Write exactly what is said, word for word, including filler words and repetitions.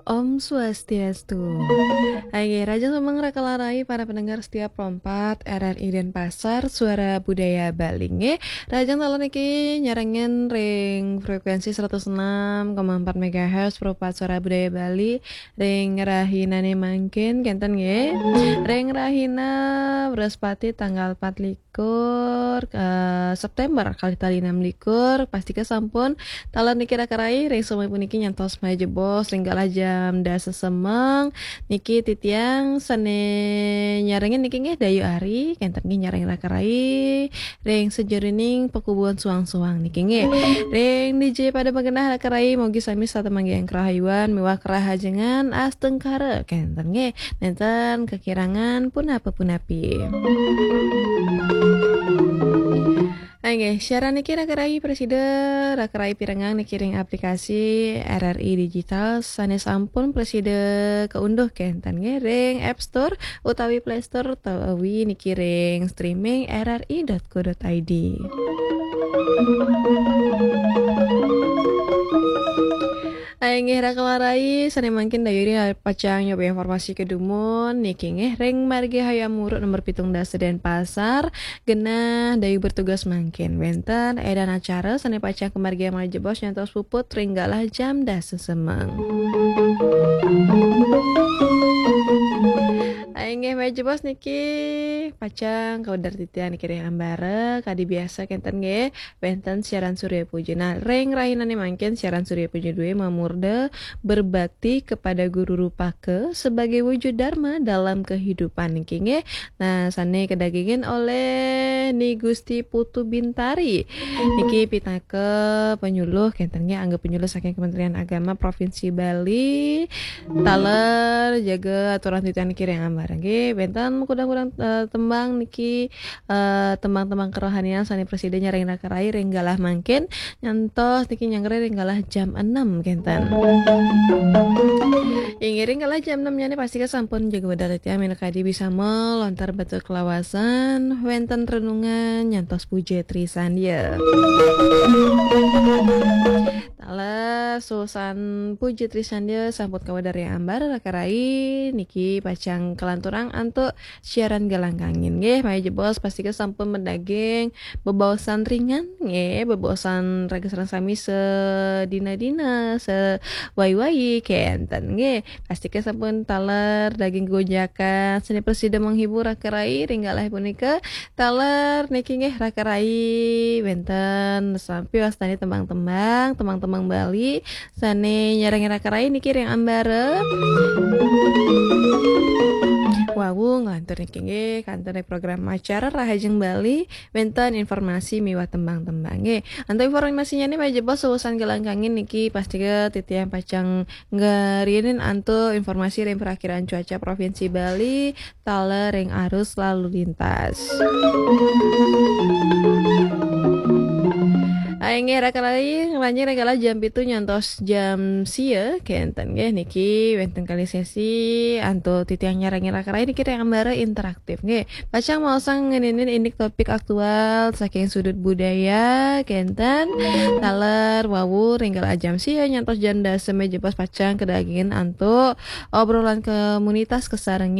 Om Swastiastu. Hai, rahajeng semeng raka larai para pendengar setia Pro empat R R I Denpasar, Suara Budaya Bali nggih. Rahajeng taler niki nyarengin ring frekuensi seratus enam koma empat megahertz Pro empat Suara Budaya Bali ring rahinane mangkin kenten nggih. Ring rahina Wrespati tanggal empat likur, eh, September kalih tali enam likur, pastika sampun taler niki raka rai ring sami puniki nyantos malih jebos ring galah jam dasa semeng. Niki titiang sane nyarengin niki nggih Dayu Ari, kenten nggih nyarengin raka rai ring sajeroning pakubuhan suang-suang niki nggih. Ring D J pada magenah raka rai, mugi sami setata manggihin karahayuan miwah karahajengan astungkara kenten nggih. Nenten kekirangan punapa-punapi. Inggih, siaran niki raka rai prasida raka rai pirengang niki ring aplikasi R R I Digital sane sampun prasida kaunduh kenten nggih ring App Store utawi Play Store utawi niki ring streaming R R I dot co dot I D. Inggih raka larai, sane mangkin Dayu Ari pacang nyoba informasi kedumun niki nggih ring Margi Hayam Wuruk nomor pitung dasa Denpasar, genah Dayu bertugas mangkin. Wenten edan acara sane pacang kamargiang malih jebos nyantos puput ring galah jam dasa semeng. Inggih malih jebos niki pacang kawedar titiang niki ring ambara kadi biasa kenten nggih. Wenten siaran Surya Puja. Nah, ring rahinane mangkin siaran Surya Puja due mamurda berbakti kepada Guru Rupaka sebagai wujud dharma dalam kehidupan niki nggih. Nah, sane kadagingin olih Ni Gusti Putu Bintari. Niki pinaka penyuluh kenten nggih, angga penyuluh saking Kementerian Agama Provinsi Bali. Taler jaga aturan titiang niki ring ambara nggih. Wenten kudang-kudang, eh, tembang niki, eh, tembang-tembang kerohanian sane prasida nyarengin raka rai ring galah mangkin nyantos niki nyanggra ring galah jam enam kenten. Inggih ring galah jam enam nyane pastika sampun jaga wedar titiang minakadi bisama lontar batur kalawasan, wenten renungan nyantos puja Trisandya. Taler susan puja Trisandya sampun kawedar ring ambara raka rai niki pacang kalanturang antuk siaran Galang Kangin nggih. Malih jebos pastika sampun madaging bebaosan ringan nggih, bebaosan raga sareng sami sedina-dina, sewai-wai kenten nggih. Pastika sampun taler daging gunjakan sane prasida menghibur raka rai ring galah punika. Taler niki nggih raka rai wenten sampi wastane tembang-tembang, tembang-tembang Bali sane nyarengin raka rai niki ring ambara. Wau nglantur niki nggih kanten ring program acara Rahajeng Bali wenten informasi miwah tembang-tembang nggih. Antuk informasinyane malih jebos susan Galang Kangin niki pastika titiang pacang ngariinin antuk informasi ring Prakiraan Cuaca Provinsi Bali taler ring arus lalu lintas. Inggih raka rai, ngranjing ring galah jam pitu nyantos jam sia kenten nggih niki wenten kalih sesi antuk titiang nyarengin raka rai niki ring ambara interaktif nggih. Pacang maosang ngeninin indik topik aktual saking sudut budaya kenten. Taler wau ring galah jam sia nyantos jam dasa malih jebos pacang kadagingin antuk obrolan komunitas kasarengin